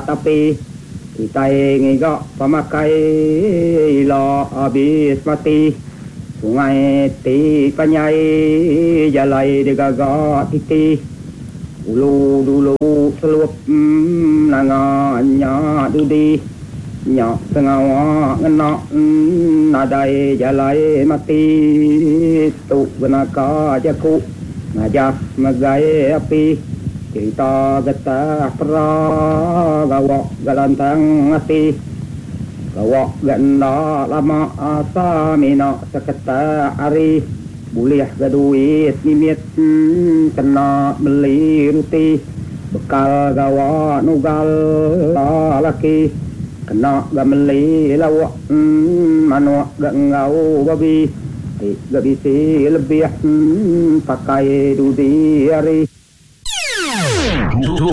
Tapi kitai ngiga pemakai ila abis mati. Sungai ti panjai jalai digaga titi. Ulu dulu selup nanga nya dudi. Nya sengawa ngena nadai jalai mati. Tu benaka jaku ngajar megai api. Cerita getah pera gawa ga lantang ati. Gawa ga enda lama asa mina seketak hari. Bulih ga duit mimit kena meli ruti. Bekal gawa nugal laki. Kena ga meli lauk manuk ga enggau babi. Ti ga bisi lebih pakai dudi hari.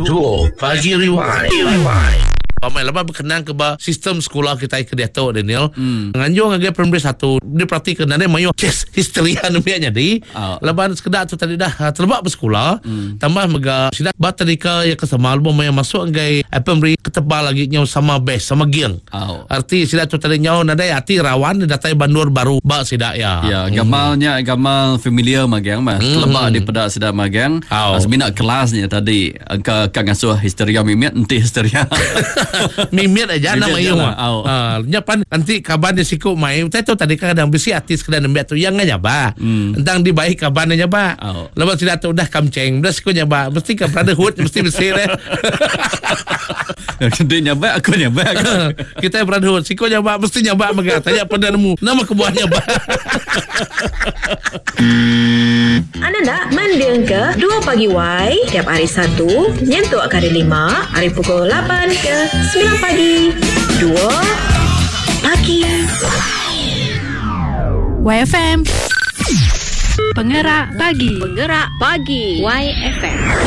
Tuo Pagi Rewind. Pamai laban bekenang ke ba sistem sekula kitai ke diatu Daniel. Mm. Nganjung ngagai primary satu diperatika nadai mayuh kes histeria nembiak nyadi. Oh. Laban sekeda tu tadi dah ah, teleba besekula. Mm. Tambah mega sida ba tadika iya ke sama lebuh maya masuk ngagai primary ketebal agi nyau sama best sama geng. Oh. Arti sida tu tadi nyau nadai ati rawan datai bandur baru ba sida iya. Ya, gamal nya gamal familiar magang mah. Mm. Teleba dipeda sida magang. Oh. Semina kelas nya tadi engka ka ngasuh histeria mimit enti histeria. mimit aja nama Mimit iya. aja lah. Oh. Ha, nya pan enti kaban dia siku mai utai tu tadi kan kadang bisi ati sekeda nembiak tu yang nyabak. Entang dibai kaban dia nyabak. Oh. Lepas sida tu udah kamceng, udah siku nyabak, mesti ke brotherhood mesti bisi deh. Dia nyabak aku nyabak. Kita brotherhood siku nyabak mesti nyabak mega. Tanya peda nemu nama kebuah nyabak. Anda enda mendingka 2 Pagi Y tiap hari Satu nyentuk ke hari Lima ari pukul 8 ke 9 pagi. 2 Pagi. YFM. Pengerak pagi. Pengerak pagi YFM.